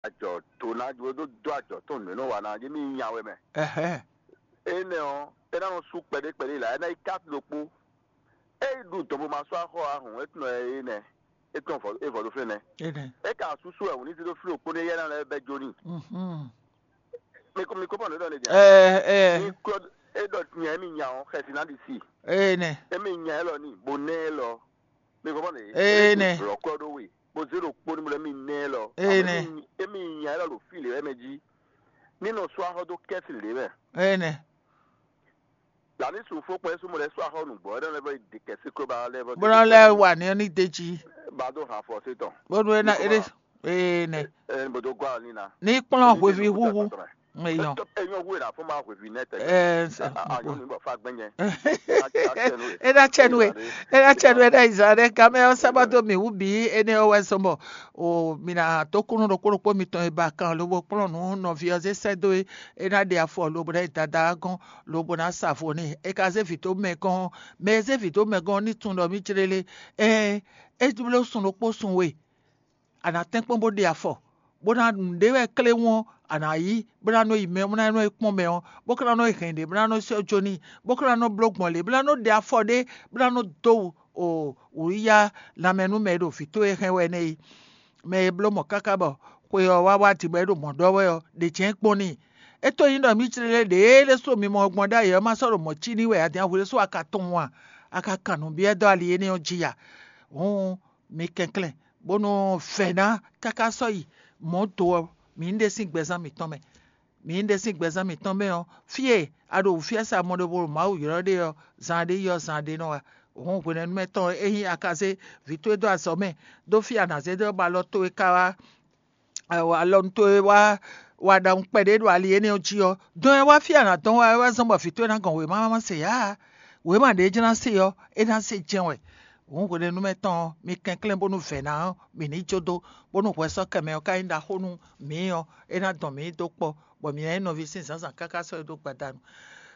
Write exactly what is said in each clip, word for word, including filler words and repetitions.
Ajɔ tó ná jó dó dó ajɔ tó nǔ e nɔ wa ná jɛ mì nya wɛ mɛ. Ɛhɛn. Énɛ́ ɔ́, é ná nɔ sú kpɛɖé kpɛɖé la, é ná yi kási ɖokpó. É yi ɖu dɔn bó ma sɔ́ axɔ ahùn, é tún nɔ ɛ énɛ́, é tún vɔ é vɔ ɖó fínɛ́. Énɛ́. É ka súsú wɛ wǔ ní sí ɖó fí ɖokpó nú éyɛ́ ná lɛ́ bɛ́ jó n'i. Mhm. Mi kó mi kó pɔn ɖó ɖɔ ní jɛ. Ɛ ɛ. Mi kó é ɖɔ tiɲɛ émi nya ɔ́, xɛsi ná ɖi si. Énɛ́. Émi nya élɔ́ ní, bó nɛ́ élɔ́. Mi kó pɔn ɖé. Énɛ́. Lɔ kɔ ɖó we, bó zé ɖokpó ní bó lɛ́ mi nɛ́ élɔ́. Énɛ́. Émi nya élɔ́ ɖo fí lě wɛ mɛ jí. Ní nɔ sú axɔ dó kɛ́si lě mɛ. Énɛ́. Lǎní sun fó kpɛ́ súnmọ́ lɛ́ sú axɔ nǔgbó, é nɔ lɛ́ vɔ yi ɖe kɛsí kó ba lɛ́ vɔ. Bó ná lɛ́ wa ní ní d'é jí. Ba dó han fɔ sí tɔn. Bónú é ná é ɖé. Ee nɛ. Ɛ ní bó dó gɔ́ ní ná. Ní kplɔ́n hweví húhú. Eyɔn. Eyɔn hu è nà fún ma hweví nɛ tɛ. Ɛ nsɛ. Ayɔn ní bɔ fa gbɛnyɛ. É ná tsɛ nú we. É ná tsɛ nú we. É ná yi zan ɖe. Gamɛ ɔ́ sábà dó mì wú bǐ énɛ́ ɔ́ wɛ sɔmɔ. O mì nà tó kúnú ɖokpó ɖokpó mitɔn e ba kan lobo kplɔ́n nǔ nɔví ɔ́ zé sɛ́ dó é. É ná ɖe afɔ lobo ná yi dada ɔ́ gɔ́n. Lobo ná sa vo n'i. É ka zé vǐ dó mɛ gɔ́n ɔ́, mɛ e zé vǐ dó mɛ gɔ́n ɔ́ ní tunwun ɖɔ mì jlé lé. Ɛɛn, é bló sun ɖokpó sun we, a nǎ tɛ́nkpɔ́n bó ɖe afɔ, bó ná nǔɖé wɛ kléwún ɔ́, a nǎ yí, bó ná nɔ yi mɛ, bó ná nɔ yi kpɔ́n mɛ ɔ́, bó ka ná nɔ yi hɛn ɖě, bó ná nɔ sɔ́ jó n'i, bó ka ná nɔ bló gbɔn lě, bó ná nɔ ɖe afɔ ɖé, bó ná nɔ dó wǔ o wǔyá lanmɛ nú mɛ e ɖo vǐ towe hɛn wɛ nɛ́ é. Mɛ e bló mɔ̌ káká bɔ xwe ɔ́ wá wá din bɔ é ɖo mɔ̌ ɖɔ wɛ ɔ́, ɖě jɛ́n kpɔ́n n'i. É to nyí ɖɔ mǐ jlé ɖě e ɖésú mi mɔ gbɔn ɖ'ayǐ ɔ́ ma sɔ́ ɖo mɔ̌ cí n'i wɛ a din ahwe ɖésú a ka tunwun a? A ka kan nǔ byɔ́ dó ali énɛ́ ɔ́ jí a? Hǔn mi kɛnklɛ́n, bónú vɛ̌ ná káká sɔ́ yi mɔ̌ do ɔ́, mǐ ní ɖe sín gbɛzán mǐtɔn mɛ. Mǐ ní ɖe sín gbɛzán mǐtɔn mɛ ɔ́, fí e a ɖo wǔfyɛ́sa mɔɖobo ɖo Mawu ylɔ́ ɖe ɔ́, zan ɖé yi ɔ́, zan ɖé nɔ wá. Hǔn hwenɛ́nu mɛ tɔn e ényí a ka zé vǐ towe dó azɔ̌ mɛ dó fí a nǎ zé dó ɔ́, bɔ alɔ towe ka wá alɔnu towe wá wa ɖaxu kpɛɖé ɖo ali énɛ́ ɔ́ jí ɔ́, dɔn e wá fí a nǎ dɔn wá é wá zɔ́n bɔ vǐ towe ná gɔn wěma ma se ǎ. Wěma ɖě jlá se ɔ́, é ná se jɛ́n wɛ. Hǔn hwenɛ́nu mɛ tɔn ɔ́, mi kɛnklɛ́n bónú vɛ̌ ná ɔ́, mǐ ní jó dó, bónú hwɛsɔ́kɛ mɛ ɔ́ ka nyí ɖaxó nú mǐ ɔ́, é ná dɔn mǐ dó kpɔ́, bɔ mǐ ná nyí nɔví sín zǎnzǎn káká sɔ́ e dó gbadanu.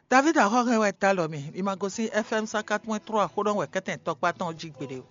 David Axɔ́hɛn wɛ ta lɔ mi, mi ma gosín F M cent quatre point trois xó ɖɔ wɛ kɛ́tɛn tɔkpá tɔn jí gbeɖé o.